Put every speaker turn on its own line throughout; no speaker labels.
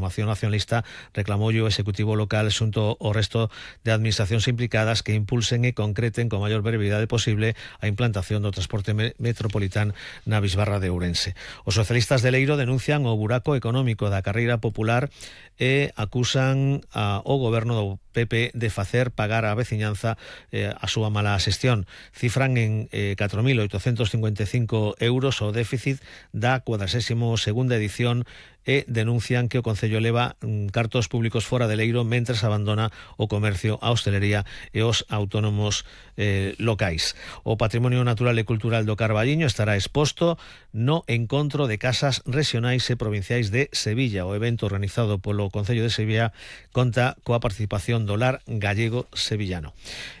formación nacionalista reclamou o Executivo local xunto ao resto de administracións implicadas que impulsen e concreten con maior brevidade posible a implantación do transporte metropolitano na bisbarra de Ourense. Os socialistas de Leiro denuncian o buraco económico da carreira popular e acusan ao goberno do PP de facer pagar á veciñanza a súa mala xestión. Cifran en 4.855 euros o déficit da 42ª edición e denuncian que o Concello leva cartos públicos fora de Leiro mentres abandona o comercio, a hostelería e os autónomos locais. O patrimonio natural e cultural do Carballiño estará exposto no Encontro de Casas Regionais e Provinciais de Sevilla. O evento organizado polo Concello de Sevilla conta coa participación do Lar Gallego Sevillano.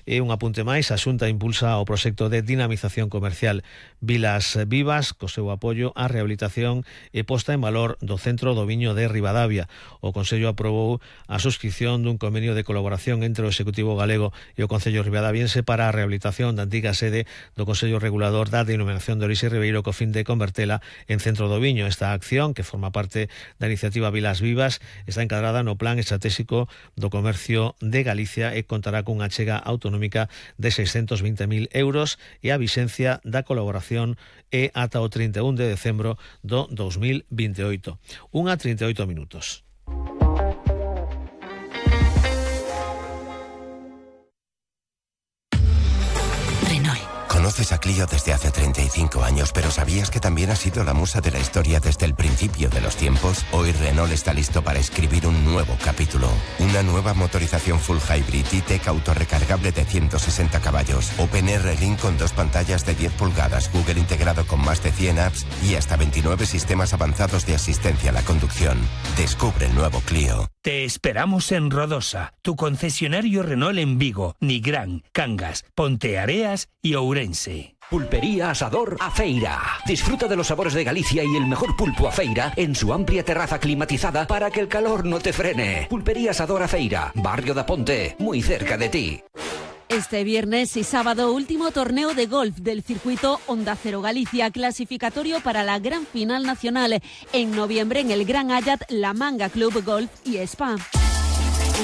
E un apunte máis, a Xunta impulsa o proxecto de dinamización comercial Vilas Vivas, co seu apoio á rehabilitación e posta en valor do Centro do Viño de Ribadavia. O Concello aprobou a suscripción dun convenio de colaboración entre o Executivo galego e o Concello ribadaviense para a rehabilitación da antiga sede do Consello Regulador da Denominación de Orixe Ribeiro co fin de convertela en Centro do Viño. Esta acción, que forma parte da iniciativa Vilas Vivas, está encadrada no Plan Estratégico do Comercio de Galicia e contará cunha achega autonómica de 620.000 euros e a vixencia da colaboración é ata o 31 de decembro do 2028. 1:38 minutos.
Conoces a Clio desde hace 35 años, pero ¿sabías que también ha sido la musa de la historia desde el principio de los tiempos? Hoy Renault está listo para escribir un nuevo capítulo. Una nueva motorización full hybrid E-Tech autorrecargable de 160 caballos, OpenR Link con 2 pantallas de 10 pulgadas, Google integrado con más de 100 apps y hasta 29 sistemas avanzados de asistencia a la conducción. Descubre el nuevo Clio.
Te esperamos en Rodosa, tu concesionario Renault en Vigo, Nigrán, Cangas, Ponteareas y Ourense.
Pulpería Asador Afeira. Disfruta de los sabores de Galicia y el mejor pulpo Afeira en su amplia terraza climatizada para que el calor no te frene. Pulpería Asador Afeira, Barrio da Ponte, muy cerca de ti.
Este viernes y sábado, último torneo de golf del circuito Onda Cero Galicia, clasificatorio para la gran final nacional. En noviembre en el Gran Ayat, La Manga Club Golf y Spa.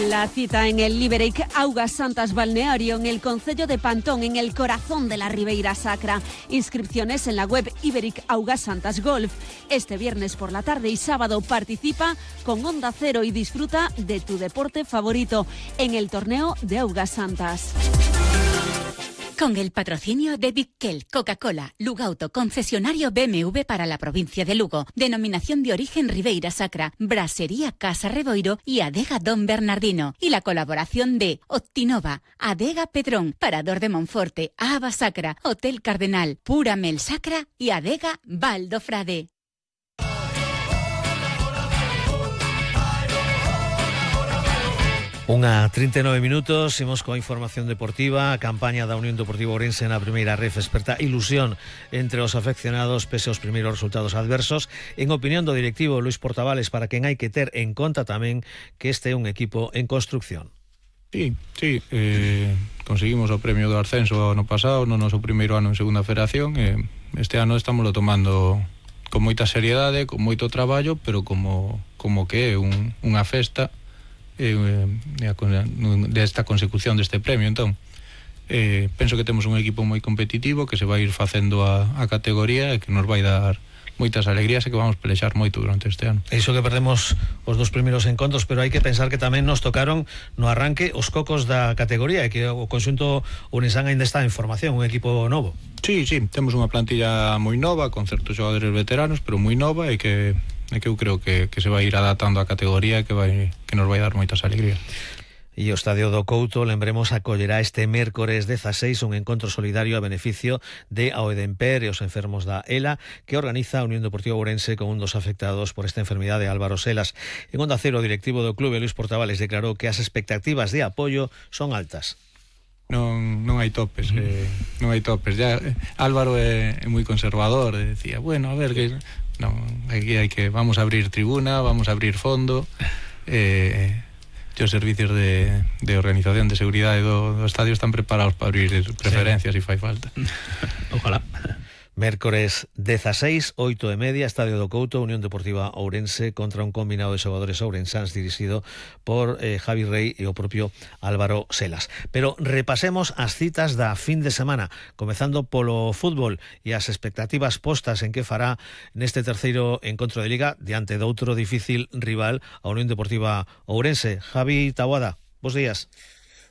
La cita en el Iberic Augas Santas Balneario, en el concello de Pantón, en el corazón de la Ribeira Sacra. Inscripciones en la web Iberic Augas Santas Golf. Este viernes por la tarde y sábado participa con Onda Cero y disfruta de tu deporte favorito en el torneo de Augas Santas.
Con el patrocinio de Bitkel, Coca-Cola, Lugauto, concesionario BMW para la provincia de Lugo, denominación de origen Ribeira Sacra, Brasería Casa Reboiro y Adega Don Bernardino. Y la colaboración de Optinova, Adega Pedrón, Parador de Monforte, Ava Sacra, Hotel Cardenal, Pura Mel Sacra y Adega Valdo Frade.
1:39 minutos, imos coa información deportiva. A campaña da Unión Deportiva Ourense na primeira ref esperta ilusión entre os afeccionados pese aos primeiros resultados adversos. En opinión do directivo Luis Portavales, para quen hai que ter en conta tamén que este é un equipo en construcción.
Sí, conseguimos o premio do ascenso ano pasado, no noso primeiro ano en segunda federación. Este ano estamos tomando con moita seriedade, con moito traballo, pero como que é unha festa desta consecución deste premio. Entón, penso que temos un equipo moi competitivo que se vai ir facendo a categoría e que nos vai dar moitas alegrías e que vamos pelexar moito durante este ano.
Iso que perdemos os dos primeiros encontros, pero hai que pensar que tamén nos tocaron no arranque os cocos da categoría e que o conxunto Unisán ainda está en formación, un equipo novo.
Sí, temos unha plantilla moi nova con certos xogadores veteranos, pero moi nova e que eu creo que se vai ir adaptando a categoría e que nos vai dar moitas alegrías.
E o Estadio do Couto, lembremos, acollerá este mércores 16 un encontro solidario a beneficio de Aoedemper e os enfermos da ELA que organiza a Unión Deportiva Ourense con un dos afectados por esta enfermidade, Álvaro Selas. En Onda Cero, o directivo do clube, Luis Portavales, declarou que as expectativas de apoio son altas.
Non hai topes, non hai topes. Ya Álvaro é moi conservador, decía, bueno, a ver que non, aquí hai que vamos a abrir tribuna, vamos a abrir fondo. Os servicios de organización de seguridade do estadio están preparados para abrir preferencias se fai falta.
Ojalá. Mércores 16, 8:30, Estadio do Couto, Unión Deportiva Ourense contra un combinado de xogadores ourensáns dirixido por Javi Rey e o propio Álvaro Selas. Pero repasemos as citas da fin de semana, comezando polo fútbol e as expectativas postas en que fará neste terceiro encontro de Liga diante de outro difícil rival, a Unión Deportiva Ourense. Javi Taboada, bos días.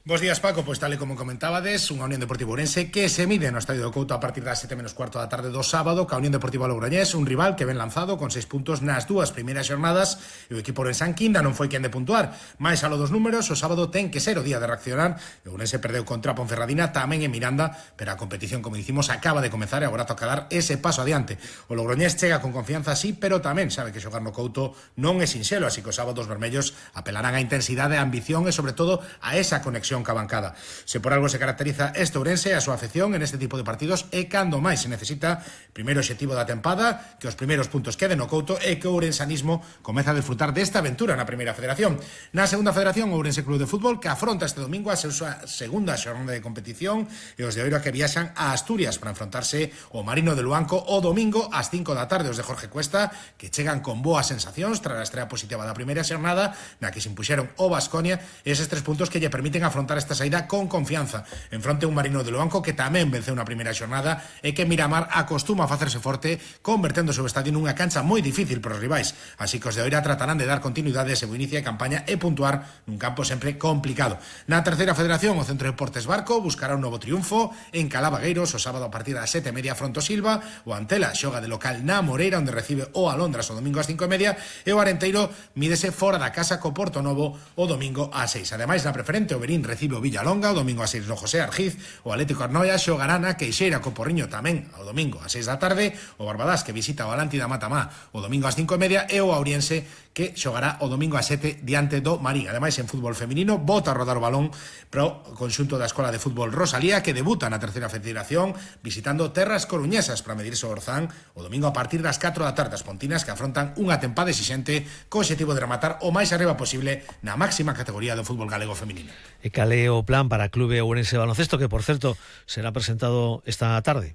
Bos días, Paco. Pois tal e como comentabades, unha Unión Deportiva Ourense que se mide no Estadio do Couto a partir das 7:15 da tarde do sábado ca Unión Deportiva Logroñés, un rival que ven lanzado con 6 puntos nas dúas primeiras xornadas e o equipo ourensán quinda non foi quen de puntuar. Mais alo dos números, o sábado ten que ser o día de reaccionar. O Ourense perdeu contra a Ponferradina tamén en Miranda, pero a competición, como dicimos, acaba de comezar e agora toca dar ese paso adiante. O Logroñés chega con confianza, sí, pero tamén sabe que xogar no Couto non é sinxelo, así que os sábados vermellos apelarán á intensidade, a ambición e, sobre todo, a esa conexión ca bancada. Se por algo se caracteriza este Ourense, a súa afección en este tipo de partidos é cando máis se necesita. Primeiro obxectivo da tempada, que os primeiros puntos queden no Couto e que o ourensanismo comeza a disfrutar desta aventura na primeira federación. Na segunda federación, o Ourense Club de Fútbol, que afronta este domingo a súa segunda xornada de competición, e os de Oiro que viaxan a Asturias para enfrontarse o Marino de Luanco o domingo ás 5 da tarde. Os de Jorge Cuesta, que chegan con boas sensacións tras a estrela positiva da primeira xornada, na que se impuxeron o Baskonia, eses 3 puntos que lle permiten afrontar esta saída con confianza. En fronte un Marino de Luanco que tamén venceu na primeira xornada e que Miramar acostuma a facerse forte, convertendo o seu estadio nunha cancha moi difícil para os rivais. Así que os de Oira tratarán de dar continuidade a ese bo inicio de campaña e puntuar nun campo sempre complicado. Na terceira federación, o Centro de Deportes Barco buscará un novo triunfo en Calavagueiros o sábado a partir das 7:30 fronte ao Silva. O Antela xoga de local na Moreira, onde recibe o Alondras o domingo ás 5:30, e o Arenteiro mídese fora da casa co Porto Novo o domingo ás 6. Ademais, na preferente, o Berín recibe o Villalonga o domingo ás 6 no José Argiz. O Atlético Arnoia xogará na Queixeira co Porriño tamén o domingo ás 6 da tarde. O Barbadás que visita o Alántida Matamá o domingo ás 5:30 e o Auriense que xogará o domingo ás 7 diante do Marín. Ademais, en fútbol feminino, bota a rodar o balón pro conxunto da Escola de Fútbol Rosalía, que debuta na terceira federación visitando terras coruñesas para medirse o Orzán o domingo a partir das 4 da tarde. As pontinas que afrontan unha tempada exixente co obxectivo de rematar o máis arriba posible na máxima categoría do fútbol galego feminino.
E cal é o plan para Clube Ourense Baloncesto, que por certo será presentado esta tarde?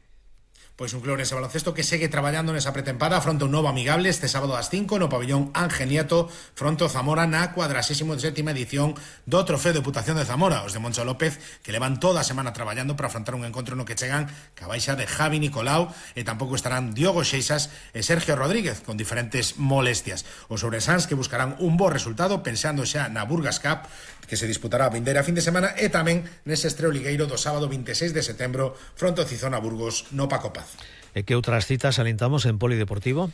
Pois un Club Ourense Baloncesto que segue traballando nesa pretempada, afronta un novo amigable este sábado ás 5 no pabellón Ángel Nieto fronte ao Zamora na 47ª edición do Trofeo de Deputación de Zamora. Os de Moncho López que levan toda a semana traballando para afrontar un encontro no que chegan ca baixa de Javi Nicolau e tampouco estarán Diogo Xeixas e Sergio Rodríguez con diferentes molestias. Os ourensáns que buscarán un bo resultado pensando xa na Burgas Cup que se disputará a vindeira fin de semana e tamén nese estreo ligueiro do sábado 26 de setembro fronte ao Cizona Burgos no Paco Paz.
E que outras citas alentamos en polideportivo?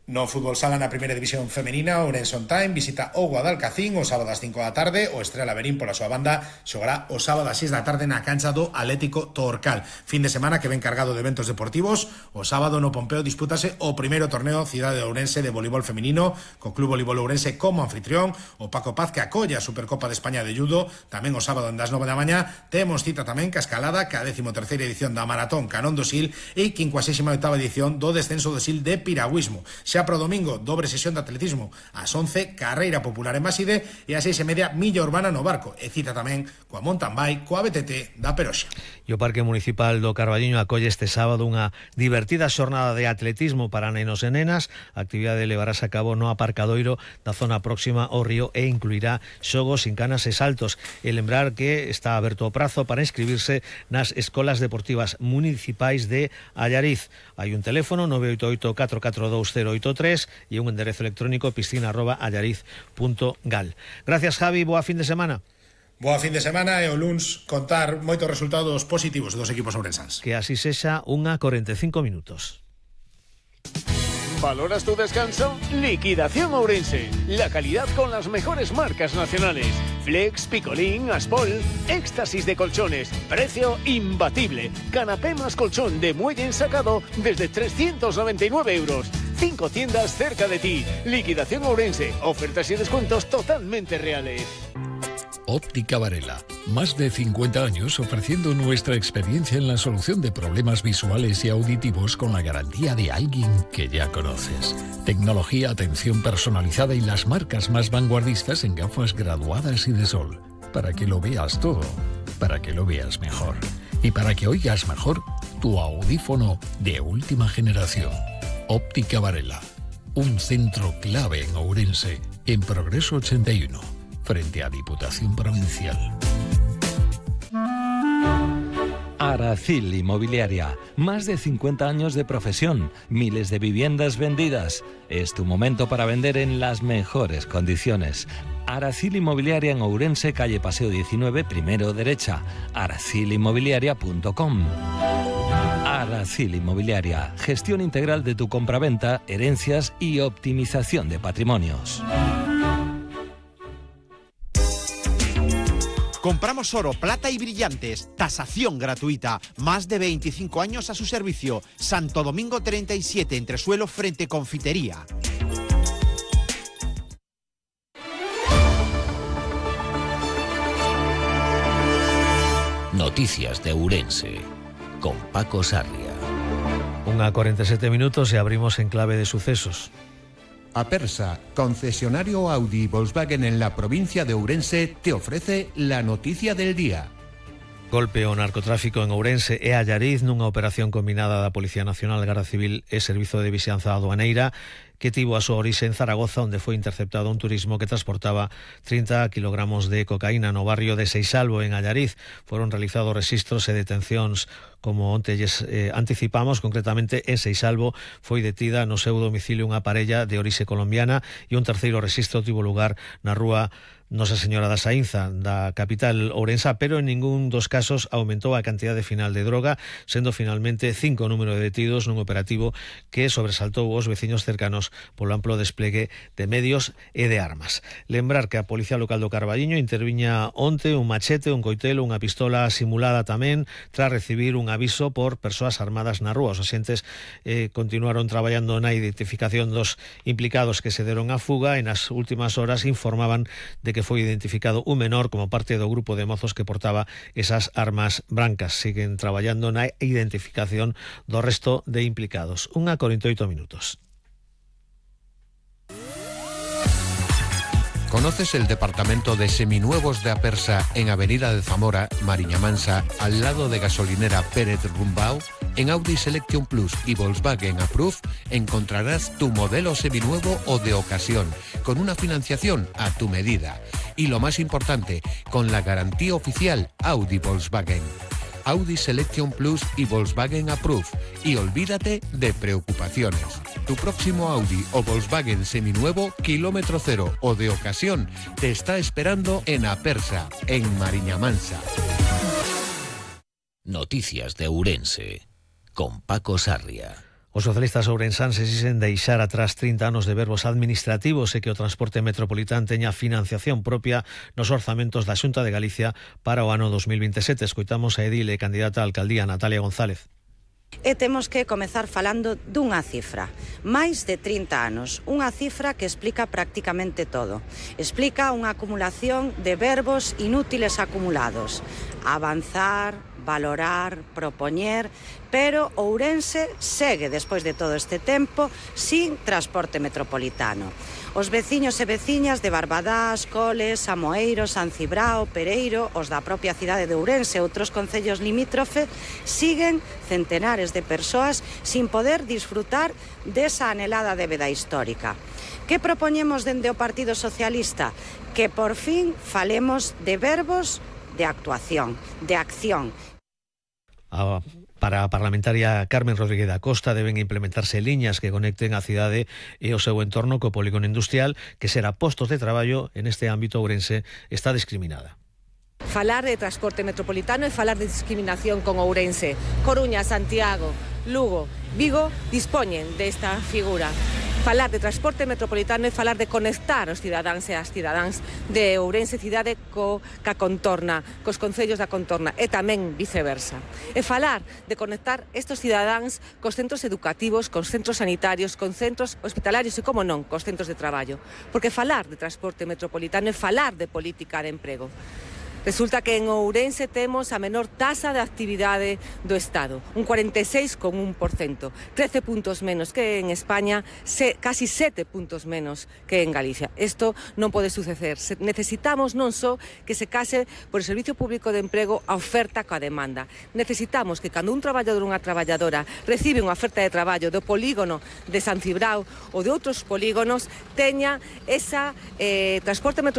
No fútbol sala na primeira división femenina, Ourense On Time visita o Guadalcacín o sábado ás 5 da tarde. O Estrela Berín pola súa banda xogará o sábado ás 6 da tarde na cancha do Atlético Torcal. Fin de semana que ven cargado de eventos deportivos. O sábado no Pompeo dispútase o primeiro torneo Cidade de Ourense de voleibol femenino, co Club Voleibol Ourense como anfitrión. O Paco Paz que acolla a Supercopa de España de Judo. Tamén o sábado das 9 da mañá temos cita tamén ca escalada, ca 13ª edición da Maratón Canón do Sil e 58ª edición do descenso do Sil de piragüismo. Xa pro domingo, dobre sesión de atletismo ás 11, carreira popular en Maside e ás 6:30, milla urbana no Barco e cita tamén coa mountain bike coa BTT da Peroxa.
E o Parque Municipal do Carballiño acolle este sábado unha divertida xornada de atletismo para nenos e nenas. A actividade levarase a cabo no aparcadoiro da zona próxima ao río e incluirá xogos, incanas e saltos. E lembrar que está aberto o prazo para inscribirse nas escolas deportivas municipais de Allariz. Hai un teléfono 988 442 083 e un enderezo electrónico piscina@allariz.gal. Gracias, Javi, boa fin de semana.
Boa fin de semana e o luns contar moitos resultados positivos dos equipos ourensáns.
Que así sexa, 1:45 minutos.
¿Valoras tu descanso? Liquidación Ourense. La calidad con las mejores marcas nacionales. Flex, Picolín, Aspol. Éxtasis de colchones. Precio imbatible. Canapé más colchón de muelle ensacado desde 399 euros. 5 tiendas cerca de ti. Liquidación Ourense. Ofertas y descuentos totalmente reales.
Óptica Varela. Más de 50 años ofreciendo nuestra experiencia en la solución de problemas visuales y auditivos con la garantía de alguien que ya conoces. Tecnología, atención personalizada y las marcas más vanguardistas en gafas graduadas y de sol. Para que lo veas todo, para que lo veas mejor. Y para que oigas mejor, tu audífono de última generación. Óptica Varela, un centro clave en Ourense, en Progreso 81, frente a Diputación Provincial.
Aracil Inmobiliaria, más de 50 años de profesión, miles de viviendas vendidas. Es tu momento para vender en las mejores condiciones. Aracil Inmobiliaria en Ourense, calle Paseo 19, primero derecha. aracilinmobiliaria.com. Aracil Inmobiliaria, gestión integral de tu compraventa, herencias y optimización de patrimonios.
Compramos oro, plata y brillantes. Tasación gratuita. Más de 25 años a su servicio. Santo Domingo 37, entresuelo frente Confitería.
Noticias de Ourense, con Paco Sarria.
1:47 minutos y abrimos en clave de sucesos.
Apersa, concesionario Audi y Volkswagen en la provincia de Ourense, te ofrece la noticia del día.
Golpe ao narcotráfico en Ourense e Allariz nunha operación combinada da Policía Nacional, Garda Civil e Servizo de Vixianza Aduaneira que tivo a súa orixe en Zaragoza, onde foi interceptado un turismo que transportaba 30 kilogramos de cocaína no barrio de Seixalbo, en Allariz. Foron realizados registros e detencións, como onte anticipamos. Concretamente en Seixalbo foi detida no seu domicilio unha parella de orixe colombiana e un terceiro registro tivo lugar na rúa Nosa Señora da Saínza, da capital ourensa, pero en ningún dos casos aumentou a cantidade final de droga, sendo finalmente 5 o número de detidos nun operativo que sobresaltou os veciños cercanos polo amplo desplegue de medios e de armas. Lembrar que a Policía Local do Carballiño interviña onte un machete, un coitelo, unha pistola simulada tamén, tras recibir un aviso por persoas armadas na rúa. Os axentes continuaron traballando na identificación dos implicados que se deron a fuga e nas últimas horas informaban de que foi identificado un menor como parte do grupo de mozos que portaba esas armas brancas. Siguen traballando na identificación do resto de implicados. 1:48 minutos.
¿Conoces el departamento de seminuevos de Apersa en Avenida de Zamora, Mariña Mansa, al lado de gasolinera Pérez Rumbao? En Audi Selection Plus y Volkswagen Approve encontrarás tu modelo seminuevo o de ocasión, con una financiación a tu medida. Y lo más importante, con la garantía oficial Audi Volkswagen. Audi Selection Plus y Volkswagen Approve. Y olvídate de preocupaciones. Tu próximo Audi o Volkswagen seminuevo, kilómetro cero o de ocasión, te está esperando en Apersa, en Mariña Mansa.
Noticias de Ourense, con Paco Sarria.
Os socialistas ourensanses dixen deixar atrás 30 anos de verbos administrativos e que o transporte metropolitán teña financiación propia nos orzamentos da Xunta de Galicia para o ano 2027. Escoitamos a edil e candidata a alcaldía Natalia González.
E temos que comezar falando dunha cifra, máis de 30 anos, unha cifra que explica prácticamente todo. Explica unha acumulación de verbos inútiles acumulados, avanzar, valorar, propoñer, pero Ourense segue, despois de todo este tempo, sin transporte metropolitano. Os veciños e veciñas de Barbadás, Coles, Amoeiro, San Cibrao, Pereiro, os da propia cidade de Ourense e outros concellos limítrofe, siguen centenares de persoas sin poder disfrutar desa anhelada débeda histórica. Que propoñemos dende o Partido Socialista? Que por fin falemos de verbos de actuación, de acción.
Para a parlamentaria Carmen Rodríguez da Costa deben implementarse liñas que conecten a cidade e o seu entorno co polígono industrial, que será postos de traballo en este ámbito. Ourense está discriminada.
Falar de transporte metropolitano e falar de discriminación con Ourense. Coruña, Santiago, Lugo, Vigo dispoñen desta figura. Falar de transporte metropolitano e falar de conectar os cidadáns e as cidadáns de Ourense cidade ca contorna, cos concellos da contorna e tamén viceversa. E falar de conectar estes cidadáns cos centros educativos, cos centros sanitarios, con centros hospitalarios e, como non, cos centros de traballo. Porque falar de transporte metropolitano é falar de política de emprego. Resulta que en Ourense temos a menor taxa de actividade do Estado, un 46,1%, 13 puntos menos que en España, casi 7 puntos menos que en Galicia. Isto non pode suceder. Necesitamos non só que se case por o Servicio Público de Emprego a oferta coa demanda. Necesitamos que cando un traballador ou unha traballadora recibe unha oferta de traballo do polígono de San Cibrao ou de outros polígonos, teña esa transporte metropolitano